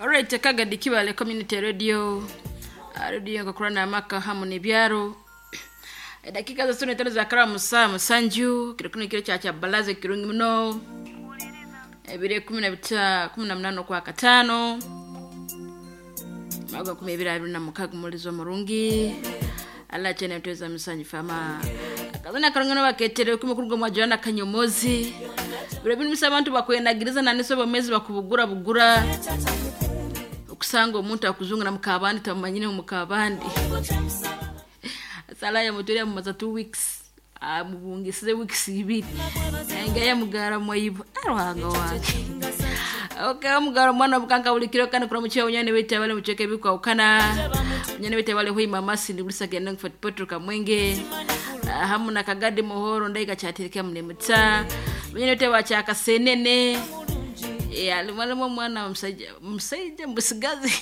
Alright, Kagadi Kibale Community Radio, radio ngakurana amaka hamu n'ebyaro. Edakika za sune tano za karamu saa musanju kiro kino kiro kya balaza kirungi muno ebire 18 kwa katano maga 2026 mulizo murungi ala chene mtweza musanju fama akazana karungano baketere kumukuru mwa Joana Kanyomozi biro bino misa abantu bakwenagiriza naniso bomezi bakubugura bugura okusanga omuntu akuzungu na mukabandi tamanyine mukabandi sala ya mutore mumaza 2 weeks amubungisize weeks ibiri nga mugara mwayibo aruhanga wange okay mugara mwana bukanga bulikiro kana kura muchiwa unyane wete abale mucheke bikwa ukana unyane wete abale hui mamasi ndi bulisa genda ngfat petro kamwenge hamu na kagadi muhoro ndaika chatirika mnemutsa unyane wete wachaka senene ya limwalimu mwana msaija msaija mbusigazi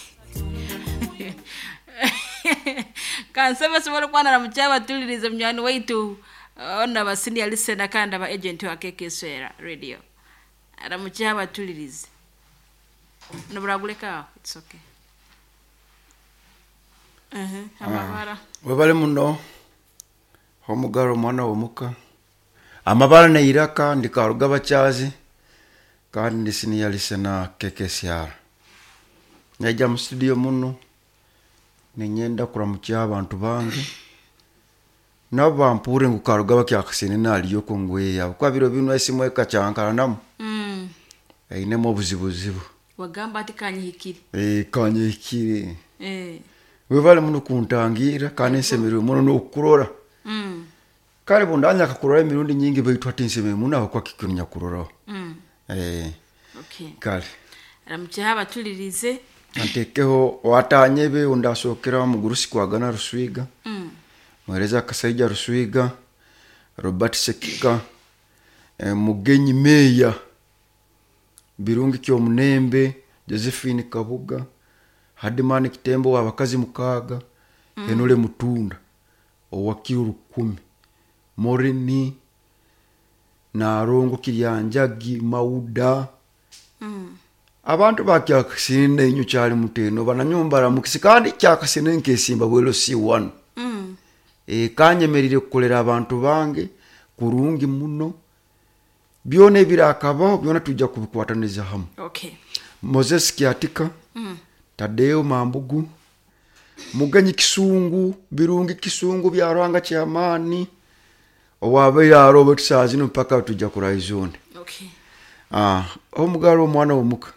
kansaba sobola okwana na mukyaba tulirize munywani waitu ona basini alisena kandi aba agent wa KK Swera radio aramukyaba tulirize noburaguleka it's okay. Amabara webale muno omugaro omwana womuka amabara neiraka ndikaruga bakyazi kandi ndi senior listener KKCR naija mu studio muno ninyenda kuramukya abantu bange nabo bampure ngu karuga bakyakasene naliyoko ngweya kuba biro bino esimu ekacyankaranamu einemu obuzibuzibu wagamba ati kanyihikire. Kanyihikire. Eh. Webale muno kuntangira kandi nsemererwe muno n'okukurora. Kale bundanya akakurora emirundi nyingi baitu ati nsemererwe muno aho kwakikunya kuroraho. Okay. Kale aramukyaha abatulirize. Antekeho watanyebe undasokera mugurusi kwagana Ruswiga. Mwereza Kasaija Ruswiga, Robert Sekika, Mugenyi Meya, Birungi Kyomunembe, Josephine Kabuga, Hadimani Kitembo wabakazi mukaga, Henole Mutunda, Owakiro Rukumi, Morini, Narongo Kiryanjagi, Mauda. Abantu bakyakasine inyo kyali muteno bananyumba mukisi kandi kyakasine nkesimba bwelo C1. Kanyemerire kukolera abantu bange kurungi muno byona ebirakabaho byona tujja kubikwataniza hamu. Okay. Moses Kiatika, Tadeo Mambugu, Mugenyi Kisungu, Birungi Kisungu byarwanga kyamani owabeire arobe tusazino mpaka tujja kuraizone. Okay. Omugalo omwana womuka.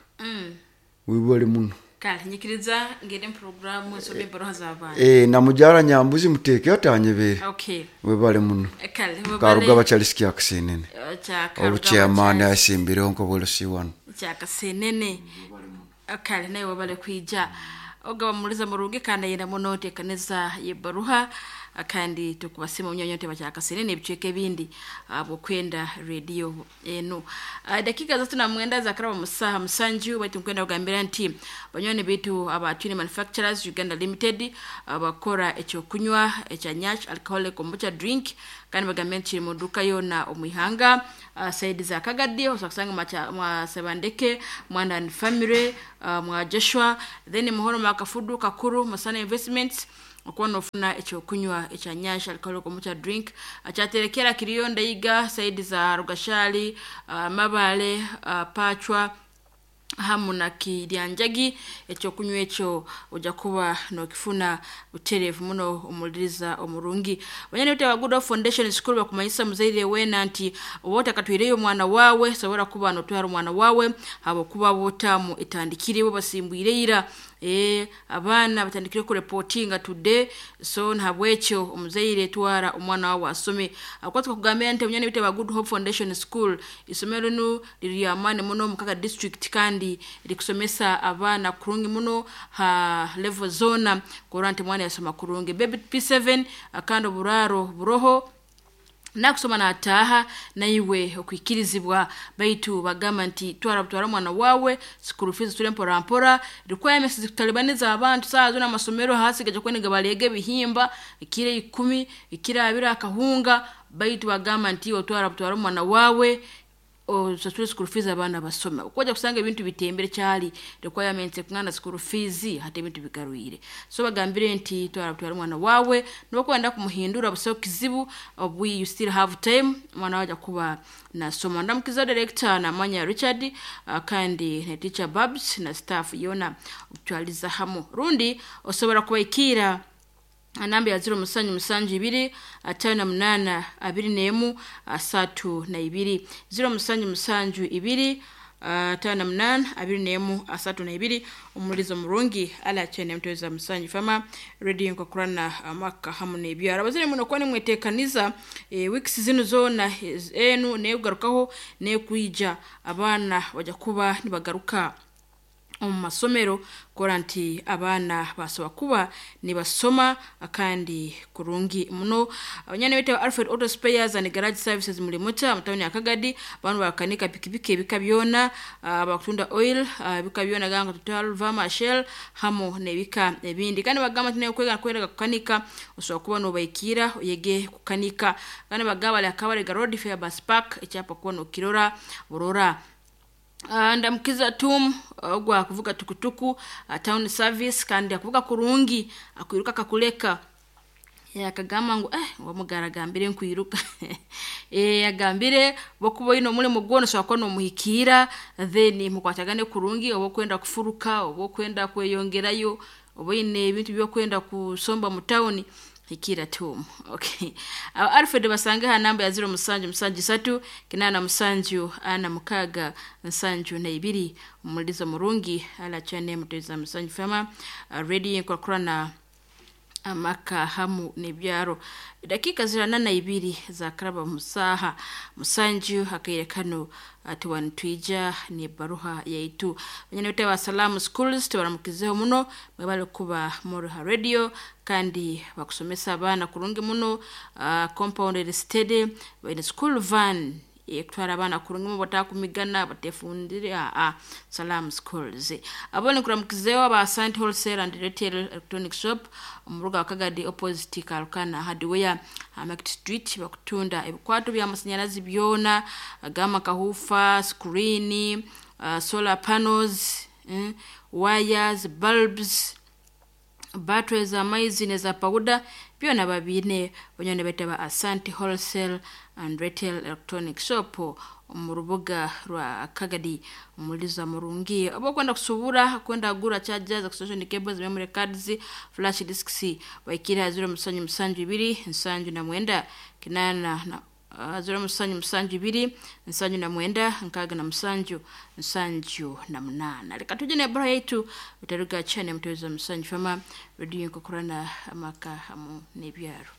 Wibale muno. Kale nyikiriza ngende mu programu nsome ebbaruha z'abantu. Namujara Nyambuzi muteeke atanyebere. Okay. Webale muno. Kale webale. Karuga bachalisi kyakasenene. Kya Obuchairman asimbireho nko C1. Kyakasenene. Kale naye webale kwija. Ogaba muliza murungi kandi ayenda muno tekaneza yebbaruha kandi tukubasima munyonyo bakyakasenene ebicweka ebindi abokwenda radio eno. Dakika zatu na mwenda za karaba musaha musanju baitu nkwenda kugambira nti banywani bitu aba Twine Manufacturers Uganda Limited abakora ekyokunywa ekya Nyash alcoholic kombucha drink kandi bagambye nti kiri mu duka yona omwihanga saidi za Kagadi osobola kusanga mwa Sebandeke Mwanda and Family, mwa Joshua then muhoro makafudu Kakuru Masana Investments okuba nofuna ekyokunywa ekya Nyash alcoholic kombucha drink akyaterekera kiriyo Ndaiga saidi za Rugashali, Mabale, Pachwa hamu na Kiryanjagi ekyokunywa ekyo ojja kuba nokifuna butereevu muno omuliriza omurungi. Banyani bete ba Good Hope Foundation School bakumanyisa muzaire wena nti oba otakatwireyo omwana wawe sobora kuba notwara omwana wawe habwokuba bwotamu etandikire bo basimbwire ira. Abaana batandikire kureportinga today so nhabwekyo omuzaire twara omwana wawe asome. Akwatwa kugambira nti omunyani bite ba Good Hope Foundation School isomero linu liri amani muno mukaga district kandi likusomesa abaana kurungi muno ha level zona kurora nti mwana yasoma kurungi. Baby P7 akandi oburaro buroho nakusoma nataha naiwe okwikirizibwa baitu bagamba nti twara butwara mwana wawe school fees tule mpora mpora requirements zikutalibaniza abantu saa zona amasomero hasi gaje kwenega balege bihimba ikire 10 ikire abira akahunga baitu bagamba nti otwara butwara mwana wawe Osasule school fees, abaana basome. Okwaja kusanga ebintu bitembere, kyali requirements kungana school fees, hati ebintu bigarwire. So bagambire nti twara twara omwana wawe, nokwenda kumuhindura busaho kizibu, obu you still have time, omwana wawe aja kuba nasoma. Ndamukiza director namanya Richard, kandi na teacher Babs na staff yona okutwaliza hamu. Rundi osobora kubaikira namba ya 0772 58 21 32, 0772 58 21 32. Omulizo murungi ala chene mtweza Musanju Fama Radio nkakurana amaka hamu n'ebyaro. Abazire muno kuba nimwetekaniza weeks zinu zona enu nekugarukaho nekwija, abaana bajya kuba nibagaruka omu masomero, kora nti abaana basobola kuba nibasoma kandi kurungi muno. Abanyana bete Alfred Auto Spares and Garage Services muri muta mutawuni ya Kagadi, bantu bakanika pikipiki ebika byona, bakutunda oil, ebika byona ganga Total, Vama, Shell hamu n'ebika ebindi. Kandi bagamba nti kwega kwega kukanika, osobola kuba nobaikira oyege kukanika. Kandi bagamba bali akabale Road Fair Bus Park, ekyapa kuba nokirora burora. Ndamukiza tum ogwa kuvuga tukutuku, town service, kandi akuvuga kurungi, akwiruka kakuleka. Yakagamba ngu wamugara agambire nkwiruka. Agambire bokuba ino omulimo gwona osobola kuba nomuhikiira, then mukwatagane kurungi, oba okwenda kufuruka, oba okwenda kweyongerayo, oba oyine ebintu byokwenda kusomba mu tawuni, hikira tum. Okay, Alfred basange ha namba ya 0773 87 46 72. Omulizo murungi ala chane muteza Musanju Fama Radio nkokurana amaka hamu n'ebyaro. Dakika 42 za karaba musaha musanju akaire kano tuwanitwija ni baruha yaitu. Banyana wa Salamu Schools, tubaramukizeho muno, mwebale kuba Moruha Radio kandi bakusomesa abaana kurungi muno. Compounded steady baine school van ekutwara abaana kurungi mu batakumigana batefundire. A Salam Schools abone kuramukizeho aba Asante Wholesale and Retail Electronic Shop omuruga wa Kagadi, opposite Kalukana Hardware, Market Street. Bakutunda ebikwato by'amasanyalazi byona gama kahufa, screen, solar panels, wires, bulbs, batteries, amaizi neza powder, byona babine. Banyone bete ba Asante Wholesale and Retail Electronic Shop mu rubuga rwa Kagadi. Umuliza murungi oba kwenda kusubura, kwenda gura chargers, extension cables, memory cards, flash disks, baikira 0772 79 8 na 0772 79 67 78. Reka tuje na bora yaitu utaruga chane mtweza Musanju Fama Radio nkokurana amaka hamu n'ebyaro.